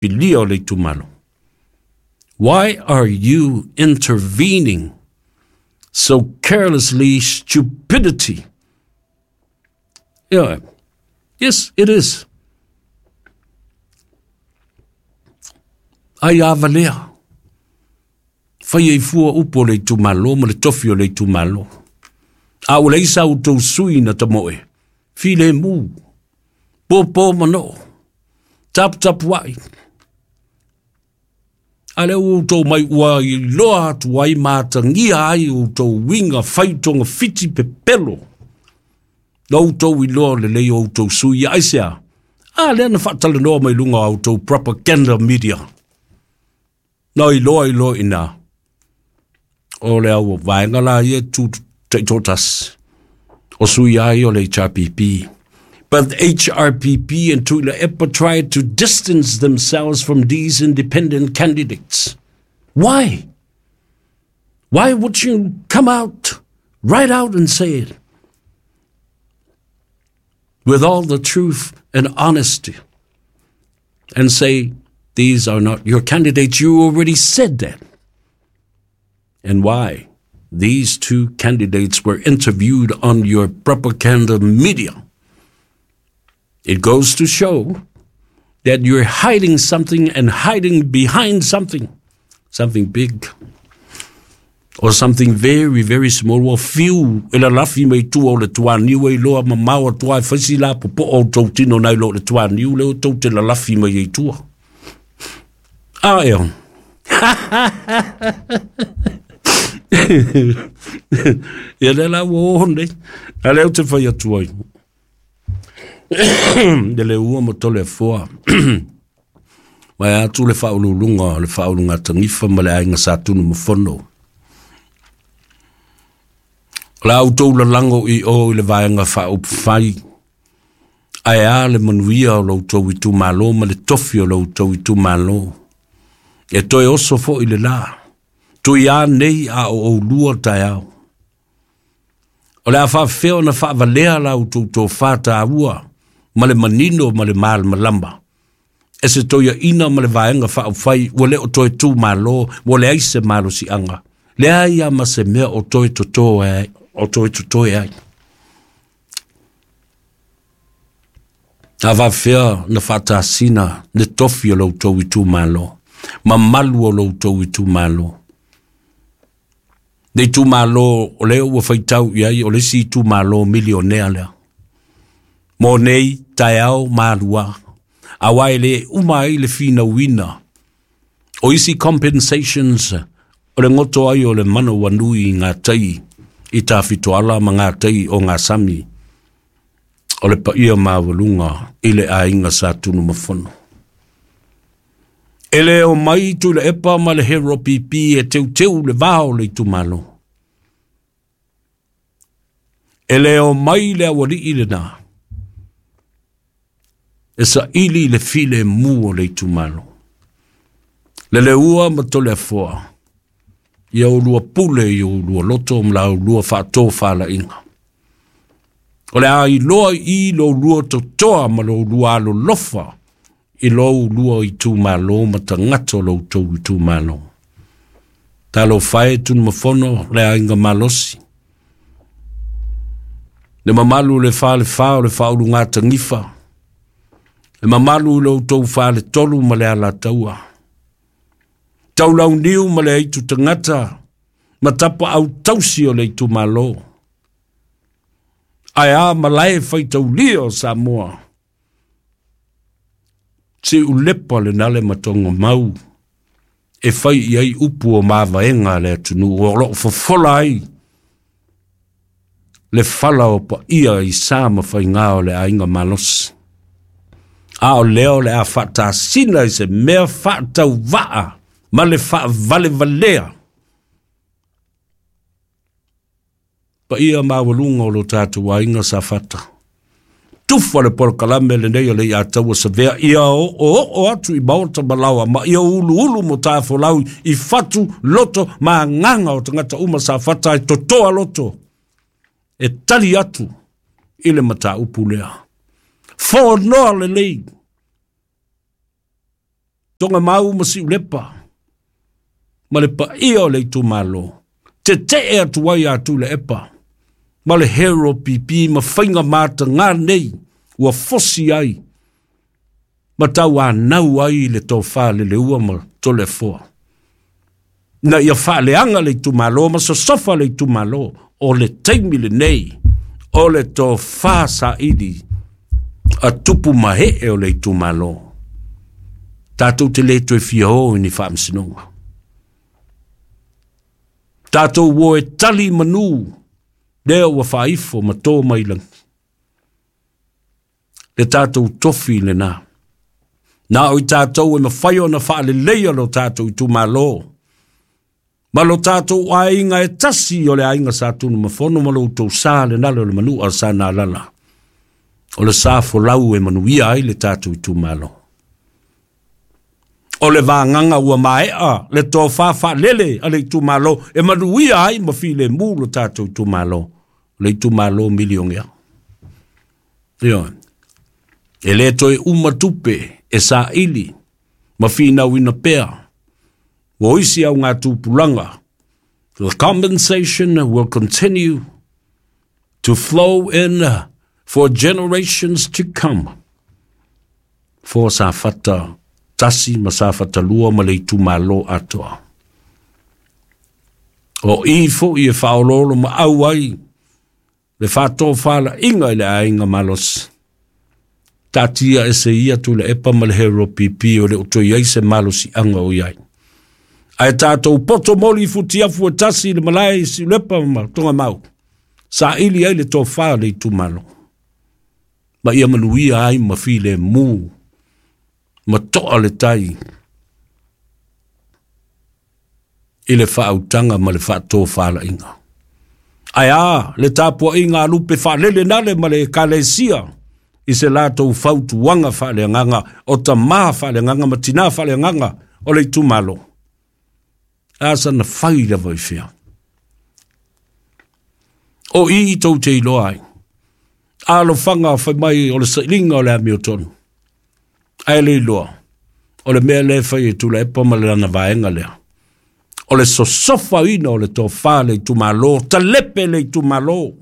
Filia o le itumalo. Why are you intervening so carelessly stupidity? Yeah. Yes, it is. Ai a valea. Fai ai fua upu o le itumalo ma le tofi o le itumalo. A ua leai sa outou sui na tamoe. Filemu. Pōpō manoo. Taputapuai. A lea ua outou mai ua iloa atu ai ma atagia ai outou uiga fai togafiti pepelo. Na outou iloa lelei o outou sui ia aisea? A lea na faatalanoa mai luga o a outou propaganda media. Na iloa iloa i ina o le au vaega la ia tu taitoatasi o sui ai o le HRPP. But HRPP and Tuilaepa tried to distance themselves from these independent candidates. Why? Why would you come out, right out and say it? With all the truth and honesty and say, these are not your candidates. You already said that. And why? These two candidates were interviewed on your propaganda media. It goes to show that you're hiding something and hiding behind something, something big or something very, very small. Ua fiu e lalafi mai tua o le tuaniu e iloa mamao atu ai faisi la popo'o o tou tino nai lo le tuaniu lea tou te lalafi mai ai tua. A ea. Ia lea la ua oo nei. A lea ou te fai atu ai. Le le ua ma tole afoa. Mai atu le faauluuluga o le faaulugatanifa ma le aiga Sa Tunumafono. O le a outou lalago i o i le vaega faaupufai, ae a le manuia o lo outou itumalo ma le tofi o lo outou itumalo. E toe oso foi le la. Tui a nei a o oulua taeao. O le a faafefea ona faavalea la outou tofa taua ma le manino ma le malamalama e se toeaina ma le vaega faaupufai ua le o toe tu malo, ua leai se malosiaga, leai lava ma se mea o toe toto ai, o toe totoe ai. A faafefea na faatasina le tofi o lo outou itumalo, mamalu o lo outou itumalo. Le itumalo o lea ua faitau i ai o le isi itumalo milionea lea. Mo nei taeao malua, aua e le uma ai le finauina o isi compensations o le goto ai o le manawanui i ngā tai i Tafitoala ma ngā tai o ngā sami o le paia maualuga i le aiga Sa Tunumafono. E le omai Tuilaepa ma le Hero PP e teuteu le va o le itumalo. E le omai le aualii lena e saili le filemu o le itumalo. Le leua ma Toleafoa, ia oulua pule i oulua loto ma la oulua faatofalaiga. O le a iloa i lo oulua totoa ma lo oulua alolofa i lo oulua itumalo ma tagata o lo outou itumalo. Talofa e Tunumafono le aiga malosi. Le mamalu le falefa o le faaulugatanifa. Le mamalu i lo outou faletolu ma le alataua. Taulauniu ma le aitu tagata ma tapaau tausi o le itumalo. Ae a malae faitaulia o Samoa. Siulepa le nale ma mau e fai i ai upu o mavaega a le atunuu o loo fofola ai le fala o paia i sa ma faiga o le aiga malosi. A o lea o le a faatasina i se mea faatauvaa ma le faavalevalea. Paia maualuga o lo tatou aiga Safata. Tufa le polokalame lenei o le Iataua Savea ia oooo atu i maota ma laoa ma ia uluulu mo tafolau i fatu loto ma agaga o tagata uma Safata e totoa loto e tali atu i le mataupu lea. Fonoa lelei. Togamau ma Siulepa, ma le paia o le itumalo, tete'e atu ai ia Tuilaepa ma le Hero PP ma faiga mataga nei ua fosi ai ma tauanau ai le tofa Leleua ma Toleafoa, ina ia faaleaga le itumalo ma sosofa le itumalo. O le taimi lenei o le tofa saili a tupu ma ee o le itumalo. Tatou te le toe fia o i ni faamasinoga, tatou o e tali manu lea ua faaifo ma to mai lagi. Le tatou tofi lena, na o i tatou e mafai ona faaleleia lo tatou itumalo ma lo tatou aiga e tasi o le aiga Sa Tunumafono ma lo outou sa le nalo o le manu a sa nalala. O le sa folau e manuia ai le tatou itumalo. O le vagaga ua maea le tofa faalele a le itumalo e manuia ai ma filemu lo tatou itumalo, le itumalo milionea. Ioe. E le toe uma tupe e saili ma finauina pea. Ua isi au ngā tupulaga. The compensation will continue to flow in for generations to come. For Safata 1 ma Safata 2 ma le itumalo atoa. O i fo'i e faaoloolo ma au ai le faatofalaiga i le aiga malosi. Taatia ese ia Tuilaepa ma le Hero PP o le o toe ai se malosiaga o i ai. Ae tatou poto moli futiafu e tasi le malae i Siulepa ma Togamau. Saili ai le tofa le itumalo. Ma ia manuia ai ma filemu ma toa le tai i le faautaga ma le faatofalaiga. Ae a le tapuaiga a lupe faalele nale ma le ekalesia i se latou fautuaga faaleagaga o tamā faaleagaga ma tinā faaleagaga o le itumalo. A sana fai lava i fea. O i tou te iloa ai. Alofaga fai mai o le sailiga o le amiotonu. Ae le iloa, o le mea lea e fai e Tuilaepa ma le lana vaega lea. O le sosofaina o le tofa le itumalo, talepe le itumalo,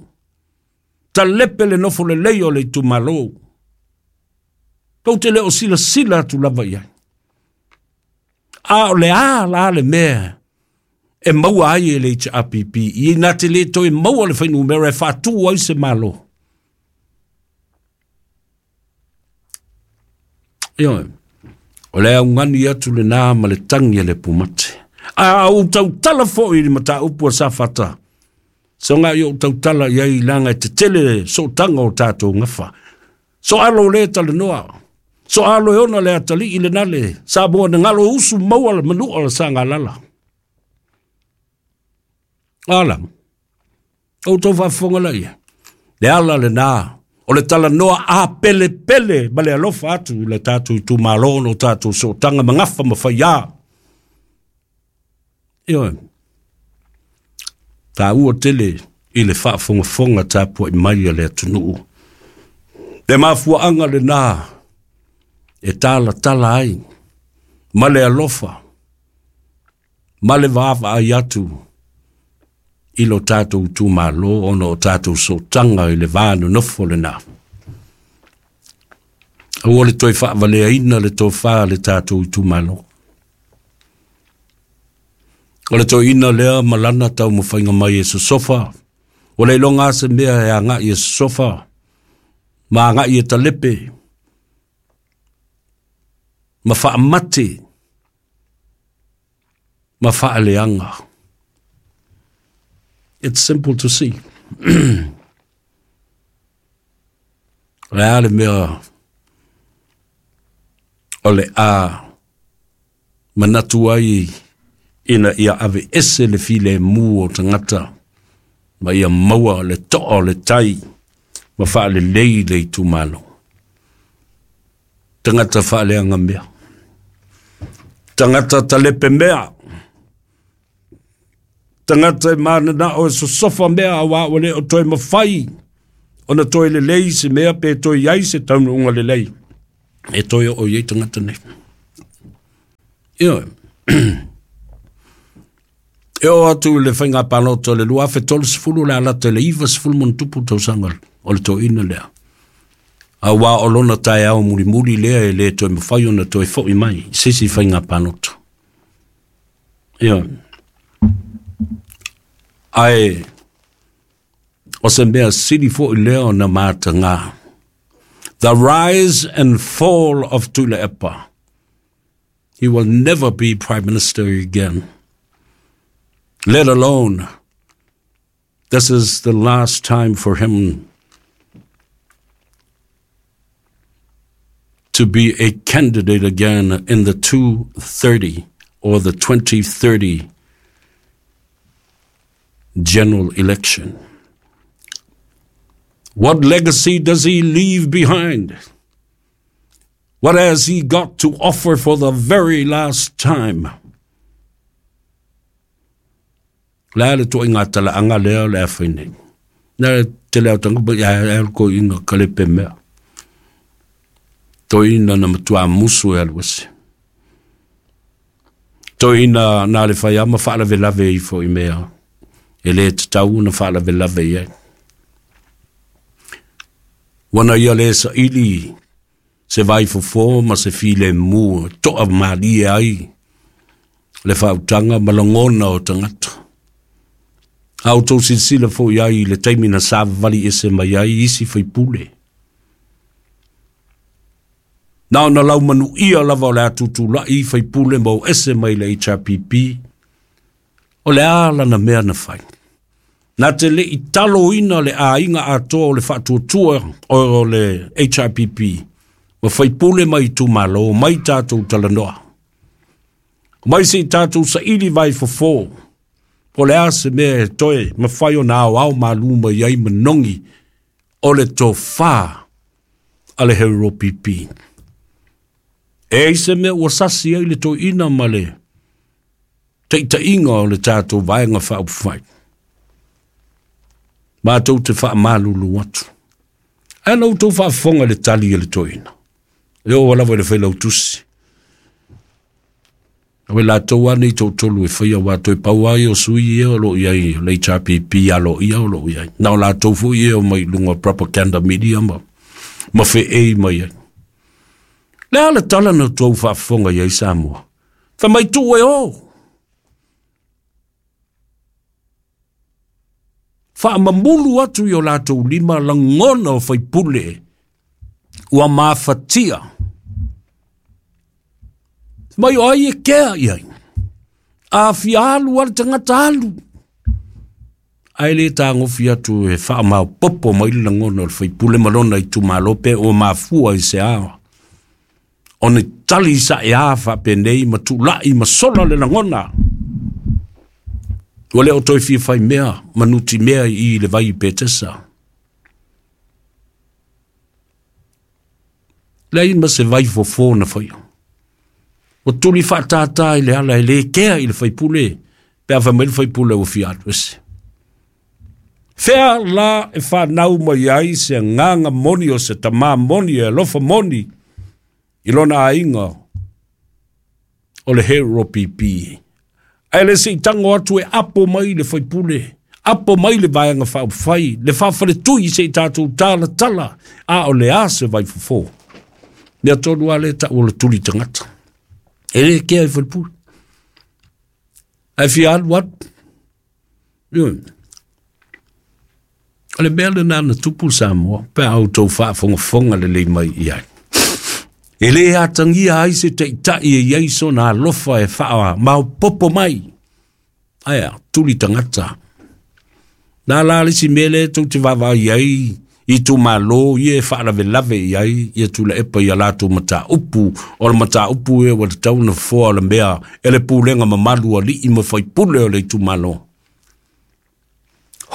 talepe le nofo lelei o le itumalo. Tou te le o silasila atu lava i ai. A o le a la le mea e maua ai e le HRPP, i na te le toe maua le fuainumera e faatu ai se malo. Ioe, o le augani atu lena ma le tagi a le pumate. A ou tautala foi i le mataupu a Safata, soga i ou tautala i ai laga e tetele sootaga o tatou gafa. So alo le talanoa, so alo e ona le atalii le nale, Samoa na galo usu maua le manua le sagalala. Ala, ou tau faafofoga laia. Le ala lena, o le talanoa a pelepele ma le alofa atu i le tatou itumalo ona o tatou sootaga ma gafa ma faiā. Ioe, taua tele i le faafogafoga tapuai mai a le atunuu. Le mafuaaga lena e talatala ai ma le alofa ma le vaavaai atu i lo tatou itumalo ona o tatou sootaga i le va nonofo lena. Aua le toe faavaleaina le tofa a le tatou itumalo. O le toeaina lea ma lana taumafaiga mai e sosofa, ua le iloga lava se mea e agai e sosofa ma agai e talepe ma faamate ma faaleaga. It's simple to see. O le a le mea o le a manatu ai ina ia aveese le filemu o tagata ma ia maua le toa o le tai ma faalelei le itumalo. Tagata faaleaga mea. Tagata talepe mea. Tagata e mananao e sosofa mea aua ua le o toe mafai ona toe lelei se mea pe toe i ai se taunuuga lelei e toe oo i ai tagata nei. Ioe. E oo atu i le faiga palota o le 2030 le a lata i le 90+ tausaga o le toeaina lea. Aua o lona taeao mulimuli lea e le toe mafai ona toe foi mai i se isi faiga palota. Ioe. Ae o se mea sili foi lea ona mataga. The rise and fall of Tuilaepa. He will never be prime minister again. Let alone, this is the last time for him to be a candidate again in the 230 or the 2030 general election. What legacy does he leave behind? What has he got to offer for the very last time? Le a le toʻaiga talaaga lea o le a fai nei. Na tele au tanga ia e ko inga kalepe mea. Toeaina na matua musu e alu ese. Toeaina na le fai ama faalavelave ifo i mea. E le tatau ona faalavelave i ai. Ua na ia le saili se vaifofo ma se filemu e toa malie ai le faautaga ma lagona o tagata. A outou silasila foi ai i le taimi na savavali ese mai ai isi faipule. Na ona laumanuia lava o le a tutulai faipule ma o ese mai le HRPP, o le a lana mea na fai. Na te le i taloina le aiga atoa o le faatuatua o le HRPP, ma faipule mai itumalo, mai tatou talanoa. Mai se i tatou saili vai fofo, po o le a se mea e toe mafai ona aoao malu mai ai manogi o le tofa a le HRPP. E ai se mea ua sasi ai le toeaina ma le taitaiga o le tatou Vaega Faaupufai. Matou te faamalulu atu. Ae na outou faafofoga i le tali a le toeaina. E oo lava i le failautusi. Aua latou lava nei toatolu e faia aua toe pau lava ia o sui ia o lo o i ai o le HRPP aloaia o lo o i ai. Na o latou foi ia e omai i luga o propaganda media ma, ma feei mai ai. Le a le tala na outou faafofoga i ai Samoa? Fai mai tuu e o! Faamamulu atu i o latou lima lagona o faipule ua mafatia. Mai o ai e kea i ai. A fia alu a le tagata alu. Ae le tagofi atu e faamaopopo mai le lagona o le faipule ma lona itumalo pe ua mafua i se a ona tali saea faapenei ma tulai ma sola le lagona. Ua le o toe fia fai mea ma nutimea i i le vai i Petesa. Leai ma se vai fofo na faia. Ua tuli faatātā i le ala e le kea i le faipule pe a fai mai le faipule ua fia alu ese. Fea la e fanau mai ai se agaga moni o se tamā moni e alofa moni i lona aiga o le HRPP. Ae le se i tago atu e apo mai le faipule, apo mai le Vaega Faaupufai, le faafaletui se i tatou talatala, a o le a se vaifofo. Mea tonu lava lea e tau o le tuli tagata. E le kea i falepule. Ae fia alu alu. Ioe. O le mea lena na tupu Samoa, pe a outou faafogafoga lelei mai i ai. E le atagia ai se taitai e i ai sona alofa e faamaopoopo mai. Ae a, tuli tagata. Na la le isi mea lea tou te vaavaai ai i itumalo ia e faalavelave i ai ia Tuilaepa i a latou mataupu, o le mataupu ea ua tatau ona fofoa o le mea e le pulega mamalu a alii ma faipule o le itumalo.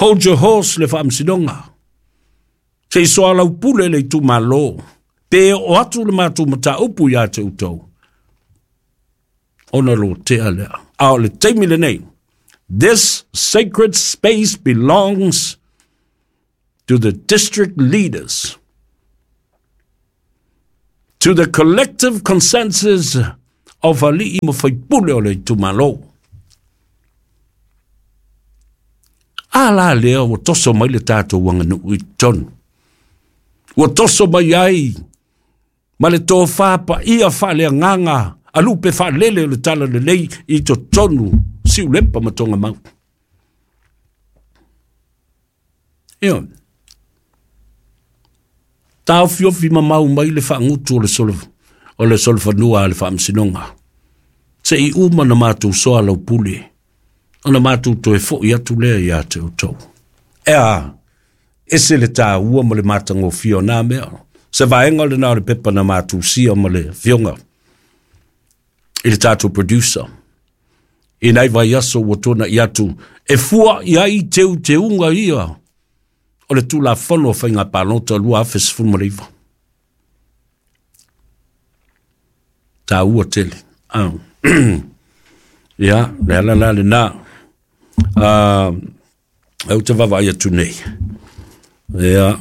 Hold your horse le faamasinoga. Se i soalaupule le itumalo, pe oo atu le matou mataupu ia te outou, ona lotea lea. A o le taimi lenei, this sacred space belongs to the district leaders, to the collective consensus of ali'i ma faipule o le itumalo. A la lea ua toso mai le tatou aganuu i totonu. Ua toso mai ai ma le tofā paia faaleagaga alupe faalele o le talalelei i totonu Siulepa ma Togamau. Ioe. Taofiofi mamau mai le faagutu o le solofanua a le Faamasinoga. Se i uma na matou soa lau pule, ona matou toe fo'i atu lea ia te outou. E a, ese le tāua ma le matagofie o nā mea. Se vaega lena o le pepa na matou sia ma le afioga i le tatou producer. I nai vaiaso ua tuana'i atu e fua i ai teuteuga ia o le Tulafono o Faiga Palota 2019. Tāua tele. Ah. Ia, le ala la lena. Ou te vaavaai atu nei. Ia,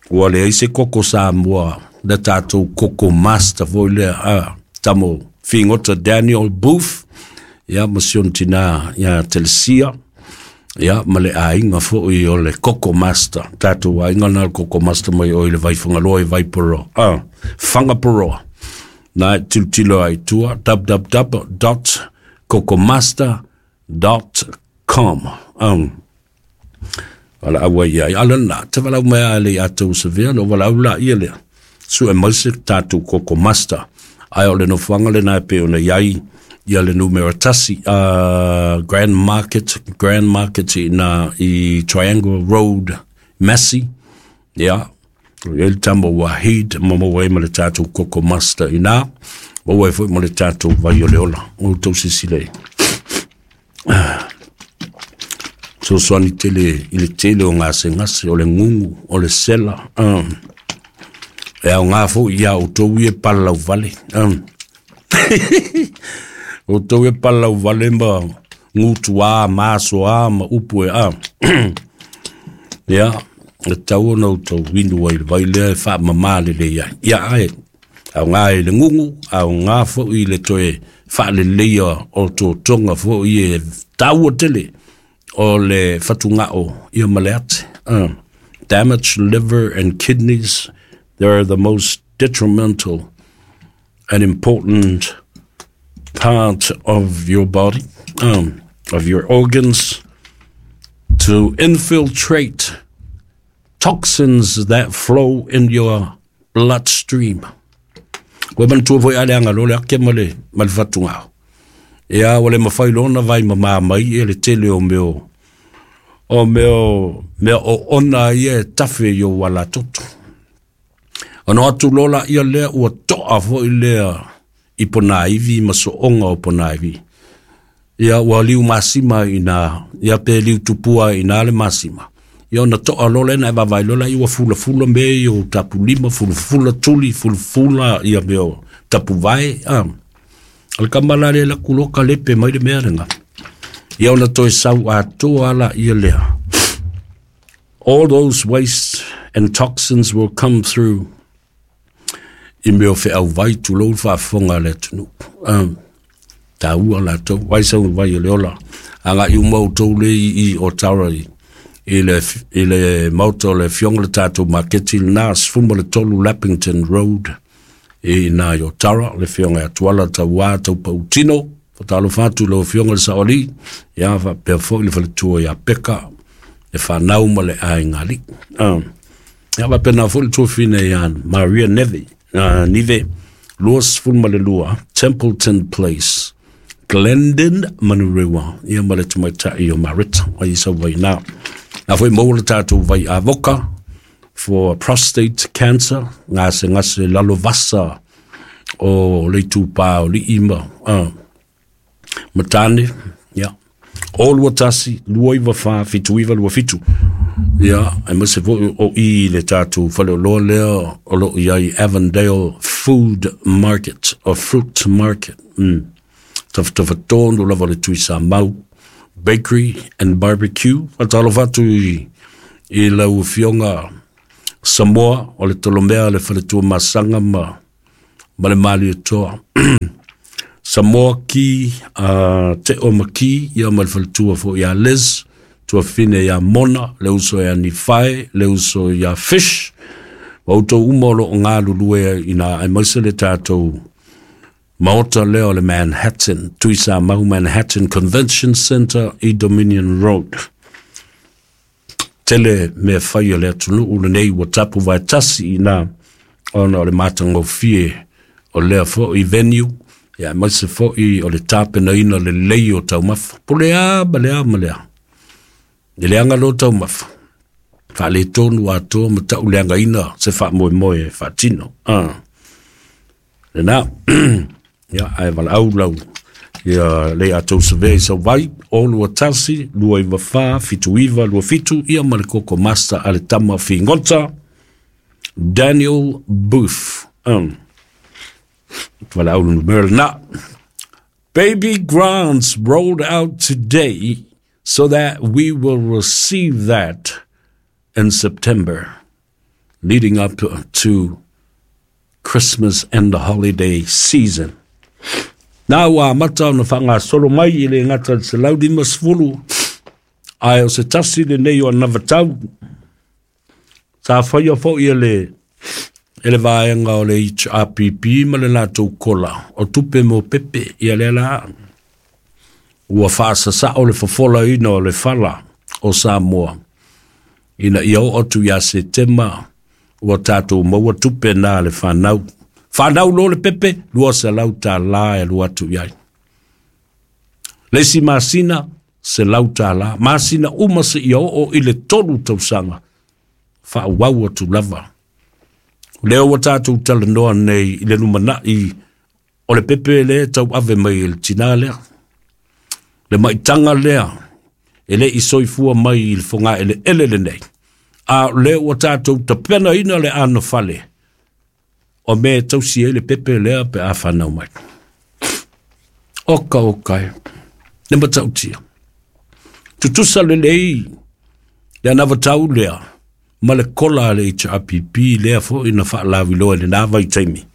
ua leai se koko Samoa, le tatou koko master foi lea, tamo figota Daniel Booth, ia ma si ona tinā ia Telesia, ia ma le aiga foi o le koko master, tatou aiga na le koko master mai o i le Vaifagaloa i Vaiporoa, Whangaporoa. Na e tilotilo ai tua, www.kokomaster.com. Wala aua ia ai ala na te walau mai a le atou savea no walau la ia lea sue mai se tatou koko master ai o le nofoaga lena e pei ona i ai ia le numera 1 Grand Market, Grand Market i na i Triangle Road Massey, ia o i ai le tama Wahid ma maua ai ma le tatou koko master i na maua ai foi ma le tatou vai o le ola o tou silasila i fesoasoani tele i le tele o gasegase, o le gugu, o le sela, e aoga foi ia outou ia e palalauvale. Outou e palalauvale ma gutuā ma asoā ma upu e a. Ia, e tatau ona outou inu ai i le vai lea e faamama lelei ai. Ia, ae aoga i le gugu, aoga foi i le toe faaleleia o totoga foi e taua tele o le fatugao ia ma le ate. Damaged liver and kidneys, they are the most detrimental and important part of your body, of your organs, to infiltrate toxins that flow in your bloodstream. Ua manatua foi a le agaloa le ake ma le, ma le fatugao. Ia, ua le mafai loa ona vai mamā mai ia le tele o mea o, o mea o, mea oona ia e tafe i ou alatoto. Ona o atu loa laia lea ua toa foi lea i ponaivi ma sooga o ponaivi. Ia ua liu masima i ina, ia pe liu tupua i ina le masima. Ia ona toa loa lea na e vaavaai loa lea ua fulafula mea ia o tapulima, fulafula tuli, fulafula ia mea o tapuvae. O le tama la lea e alu atu loa kalepe mai le mea lena. Ia ona toe sau atoa laia lea. All those waste and toxins will come through i mea o feauvai, tulou le faafofoga a le atunuu. Taua latou, vai sau vai o le ola. Agai uma outou le i Otara i le maota o le afioga le tatou maketi lena, 13 Lappington Road i ina i Otara, le afioga ia Tuala Tauā Taupautino. Faatalofa atu i lau afioga i le Saoalii, ia faapea foi le faletua ia Peka, le fanau ma le aiga alii. Ia faapena foi le tuafine ia Maria Neve, Nive, 22 Templeton Place, Glendon, Manurewa, ia ma le tamaitai o Marita, ai i sau vai nā. Nā foi maua le tatou vai avoka for prostate cancer, gasegase lalovasa o le itupā o lii ma, ma tāne, ia. O 21, 294, 7927. Ia, aemaise foi o i le tatou faleoloa lea o lo o i ai Avondale Food Market, o Fruit Market. Tafatafa tonu lava o le Tuisamau Bakery and Barbecue. Faatalofa atu i lau Afioga Samoa o le Tolomea le Faletua Masaga ma ma le Malietoa. Samoa Ki, Te Oma Ki, ia ma le faletua foi ia Liz, tuafine ia Mona, le uso ia Nifae, le uso ia Fish, ma outou uma o lo o galulue ina aemaise le tatou maota lea o le Manhattan, Tuisamau Manhattan Convention Center i Dominion Road. Tele mea fai a le atunuu lenei ua tapu vaetasi ina ona o le matagofie o lea foi venue, ia aemaise foi o le tapenaina lelei o taumafa. Po le a ma le a ma le a. E leaga loa taumafa, faaletonu atoa ma tauleagaina se faamoemoe e faatino. Lena, ia, ae valaau lau ia le a tou savea i sau vai, o 21, 294, 79, 27, ia ma le Koko Master a le tama figota, Daniel Booth. Valaau le numera lena. Baby grants rolled out today so that we will receive that in September, leading up to Christmas and the holiday season. Na ua amata ona faagasolo mai i le gata i le 150, ae o se tasi lenei o anavatau sa faia foi e le vaega o le HRPP ma le latou kola o tupe mo pepe. Ia lea la ua faasasao le fofolaina o le fala o Samoa ina ia oo atu ia Setema ua tatou maua tupe na le fanau. Fanau loa le pepe, $200 e alu atu i ai. Le isi masina, $100. Masina uma seia oo i le 3 tausaga, faaauau atu lava. O lea ua tatou talanoa nei i le lumanai o le pepe lea e tauave mai e le tinā lea. Le maitaga lea e le i soifua mai i le fogaeleele lenei. A o lea ua tatou tapenaina le anofale o mea e tausi ai le pepe lea pe a fanau mai. Oka oka e, le matautia. Tutusa lelei le anavatau lea ma le kola a le HRPP lea foi na faalaviloa i lena vaitaimi.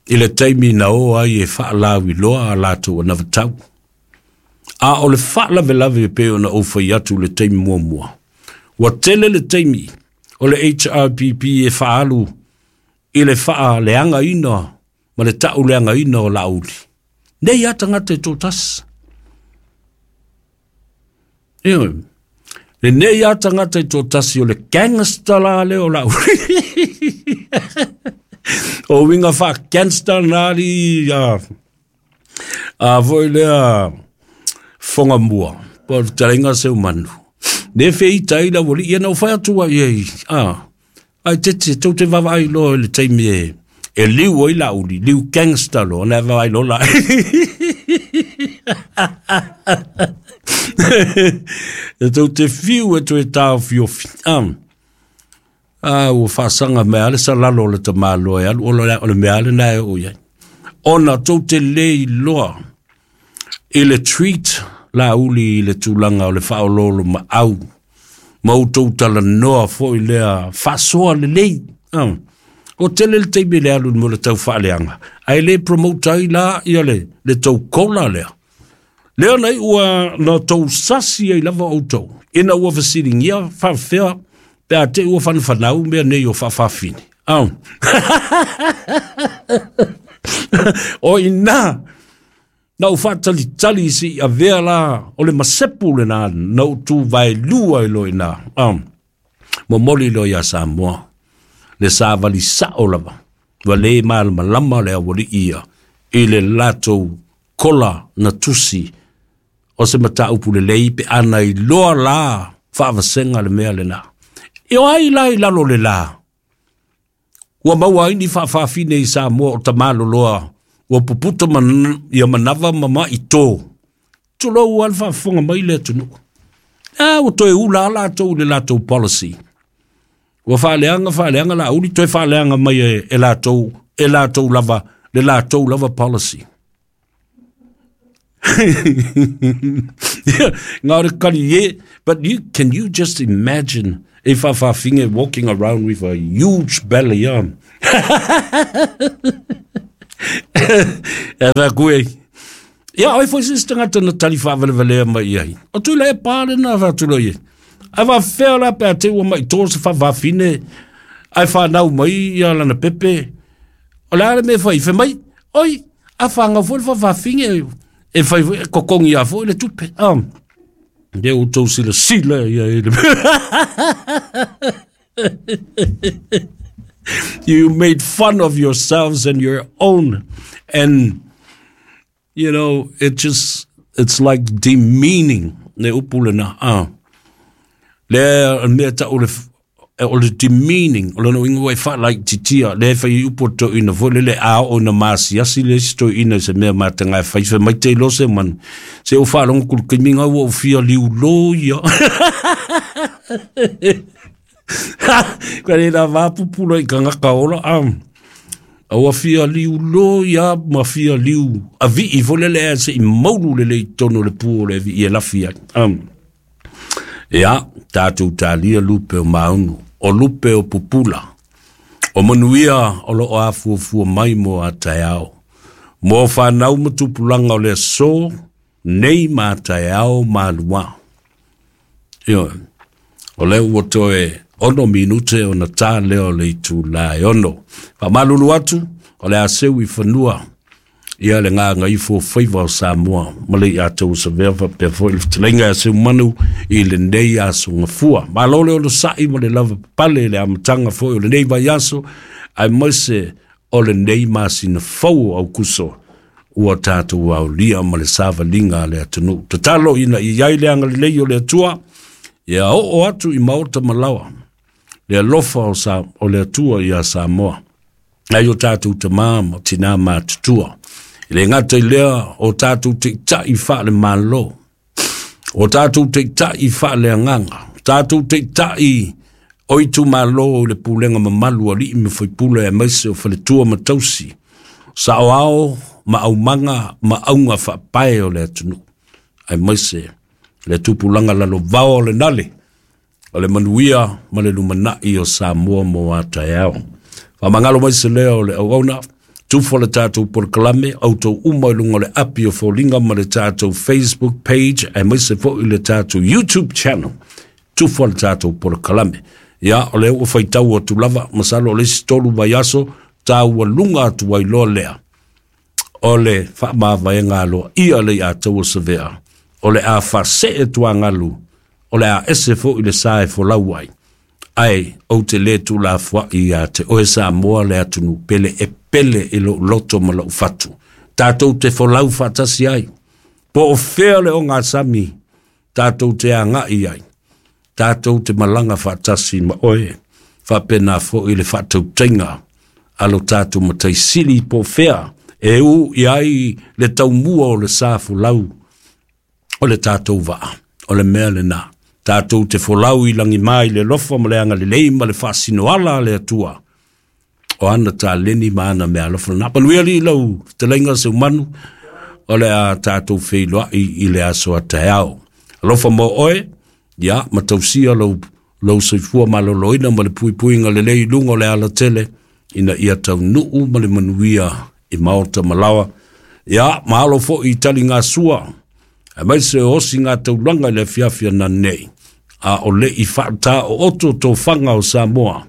I le taimi na o ai e faalaviloa a latou anavatau. A o le faalavelave pei ona ou fai atu i le taimi muamua. Ua tele le taimi o le HRPP e faaalu i le faaleagaina ma le tauleagaina o Laauli. Nei lava tagata e toatasi. Ioe. Lenei lava tagata e toatasi o le gangster la lea o Laauli. O uiga faa-gangster na alii a foi lea fogamua. Po o le fetalaiga Seumanu. Ne feita ai le aualii, ia na ou fai atu ai ai, ai tete, tou te vaavaai loa i le taimi e liu ai Laauli, liu gangster loa, na e vaavaai loa la. E tou te fiu e toe taofiofi. Ua faasaga mai lava le salalo o le tamaloa e alu o le mea lena e oo i ai. Ona tou te le iloa i le treat Laauli i le tulaga o le faaoloolomaau ma outou talanoa foi lea faasoa lelei. O tele le taimi le alu mo le tau faaleaga, ae le promote ai la ia le tou kola lea. Lea nei ua na tou sasi ai lava outou, ina ua fesiligia faafefea pe a te i ua fanafanau mea nei o faafafine. O ina na ou faatalitali seia avea la o le masepu lena na ou tuvaelua ai loa i ina. Momoli loa ia Samoa le savali sao lava, ua le malamalama le aualii ia i le latou kola na tusi o se mataupu lelei pe ana iloa la faavasega le mea lena. E o ai la i lalo le la? Ua maua ai ni faafafine i Samoa o tamaloloa ua puputa ia manava ma maitō. Tulou lava le faafofoga mai le atunuu. A ua toe ula lava latou i le latou policy. Ua faaleaga faaleaga Laauli toe faaleaga mai e latou, e latou lava, le latou lava policy. Ngā o le kali e, but you, can you just imagine a faafafine walking around with a huge belly on? E fai e. Ia, oi foi se isi tagata na tali faavalevalea mai i ai. O Tuilaepa lena faatuloi ai. Ae faafefea la pe a te ua mai to se faafafine ae fanau mai ia lana pepe. O le a le mea e fai? Fai mai, oi, a fagau foi le faafafine e fai foi, totogi a foi le tupe. Ah. Ia outou silasila ia i le You made fun of yourselves and your own. And, you know, it just, it's like demeaning. Le upu lena. Ah. Le mea ta o le, o le demeaning, o lona uiga ua e faalaititia, lea e fai upu o toeaina foi lele a oo ina masiasi le isi toeaina i se mea mataga e fai, fai mai te iloa se manu, se ua faalogo ku le taimi ua ou fia liulo ia. Ka le la vapupula i kangaka ola, a. A ua fia liulo ia ma fia liu avii foi lele ae se i maulu lelei i totonu o le pu o le avii e lafi ai. Ia, tatou talia lupe o maunu, o lupe o pupula, o manuia o loo afuafua mai mo a taeao, mo whanau ma tupulaga o le aso, nei ma taeao malua. Ioe, o lea ua toe 6 minute ona ta lea o le itula e 6. Faamalulu atu, o le a seu i fanua ia le gagaifo o faiva o Samoa ma le ia te Savea faapea foi le fetalaiga ia Seumanu i lenei aso gafua. Malo le onosai ma le lava papale i le amataga foi o lenei vaiaso aemaise o lenei masina fou o Aukuso ua tatou aulia ma le savaliga a le atunuu. Tatalo ina ia i ai le agalelei o le Atua ia oo atu i maota ma laoa le alofa o, sa, o le Atua ia Samoa. Ai o tatou tamā ma tinā matutua. I le gata i lea o tatou taitai faale-Malo, o tatou taitai faaleagaga, tatou taitai o itumalo i le pulega mamalu a alii ma faipule aemaise o faletua ma tausi, saoao ma aumaga ma auga faapae o le atunuu, aemaise le tupulaga lalovao o le nale, o le manuia ma le lumanai o Samoa mo a taeao. Faamagalo mai se leo o le auauna, tufa le tatou polokalame, outou uma i luga o le api o foliga ma le tatou Facebook page, aemaise foi le tatou YouTube channel, tufa le tatou polokalame. Ia, o lea ua faitau atu lava, masalo o le isi 3 vaiaso, taualuga atu ai loa lea, o le faamavaega aloaia le ia taua Savea, o le a faasee tuagalu, o le a ese foi le sa e folau ai. Ae ou te lē tuulafoai ia te oe Samoa le atunuu pele e pele i lou loto ma lou fatu. Tatou te folau faatasi ai. Po o fea le ogasami tatou te agai ai. Tatou te malaga faatasi ma oe. Faapena foi le faatautaiga a lo tatou mataisili po o fea e u i ai le taumua o le sa folau o le tatou vaa. O le mea lena. Tatou te folau i lagima i le alofa ma le agalelei ma le faasinoala a le Atua. O ana taleni ma ana meaalofa lena. Manuia alii lau fetalaiga Seumanu, o le a tatou feiloai i le aso a taeao. Alofa mo oe, ia, ma tausia lou, lou soifua maloloina ma le puipuiga lelei i luga o le alatele, ina ia taunuu ma le manuia i maota ma laoa. Ia, mahalo foi i taligasua, aemaise o osi ngā taulaga i le afiafi ananei, a o le i faataooto tofaga o Samoa,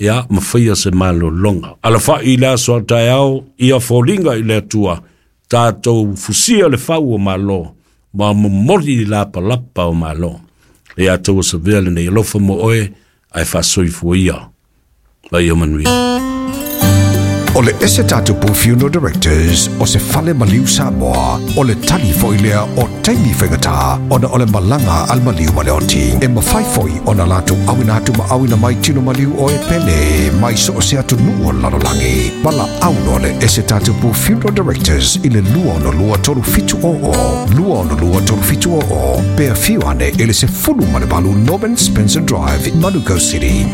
ia, ma faia se malologa. Alafai i le aso a taeao, ia foliga i le Atua, tatou fusia le fau o Malo, ma momoli i lapalapa o Malo. Le ia taua Savea lenei alofa mo oe, ae faasoifua ia. Vai ia manuia. O le ese tatupu Funeral Directors o se fale maliu Samoa, o le tali foi lea o taimi faigata ona o le malaga a le maliu ma le oti. E mafai foi ona latou auina atu ma auina mai tino maliu o e pele mai so o se atunuu o le lalolagi. Valaau loa le ese tatupu Funeral Directors i le 262 3700, 262 3700, pe afio ane i le 18 Norman Spencer Drive, Manukau City.